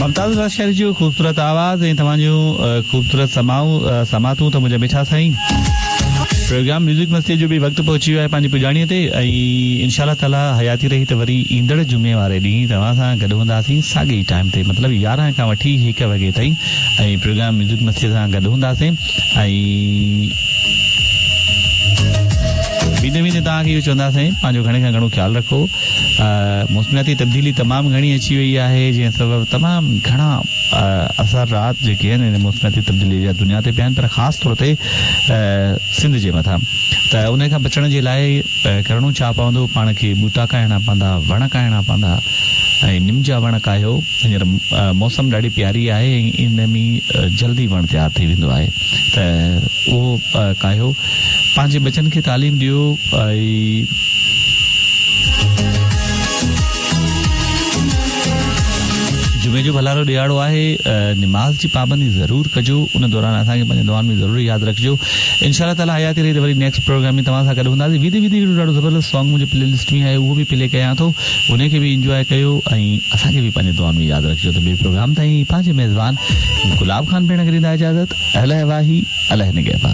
ممتاز لاشاري جو خوبصورت آواز ۽ توهان جون خوبصورت سماعون سماعتون ته منهنجا مٺا سائين پروگرام ميوزڪ مستي جو به وقت پهچي ويو آهي پنهنجي پڄاڻي تي ۽ انشاء الله تعالي حياتي رهي ته وري ايندڙ جمعي واري ڏينهن توهان سان گڏ هونداسين ساڳي ئي ٽائيم تي مطلب 11 کان وٺي 1 وڳي تائين ۽ پروگرام ميوزڪ مستي سان گڏ هونداسين ۽ ويندي ويندي توهان کي اهو چونداسين پنهنجو گهڻي کان گهڻو خيال رکو موسمياتي تبديلي تمام گهڻي اچي وئي آهي جنهن سبب تمام گهڻا اثرات جيڪي آهن ان موسمياتي تبديلي جا دنيا تي پيا آهن پر خاص طور تي سنڌ جي مٿان ته ان کان بچڻ جي لاء ڪرڻو ڇا پوندو پاڻ کي ٻوٽا ڪاهڻا پوندا وڻ ڪاهڻا پوندا ۽ نم جا وڻ ڪاهيو هينئر موسم ڏاڍي پياري آهي ۽ ان ۾ جلدي وڻ تيار ٿي ويندو آهي ته اهو ڪاهيو پنهنجي ٻچن کي تعليم ڏيو ۽ جمعي جو ڀلارو ڏهاڙو آهي نماز جي پابندي ضرور ڪجو ان دوران اسان کي پنهنجي دعائن ۾ ضرور ياد رکجو انشاء الله تعالي حياتي رهي ته وري نيڪسٽ پروگرام ۾ توهان سان گڏ هونداسين ويندي ويندي هڪڙو ڏاڍو زبردست سانگ منهنجي پلي لسٽ ۾ آهي اهو به پلي ڪيان ٿو انهي کي به انجواء ڪيو ۽ اسان کي به پنهنجي دعائن ۾ ياد رکجو ته ٻئي پروگرام تائين پنهنجي ميزبان گلاب خان پڻ کي ڏيندا اجازت الله واهي الله نگهبان.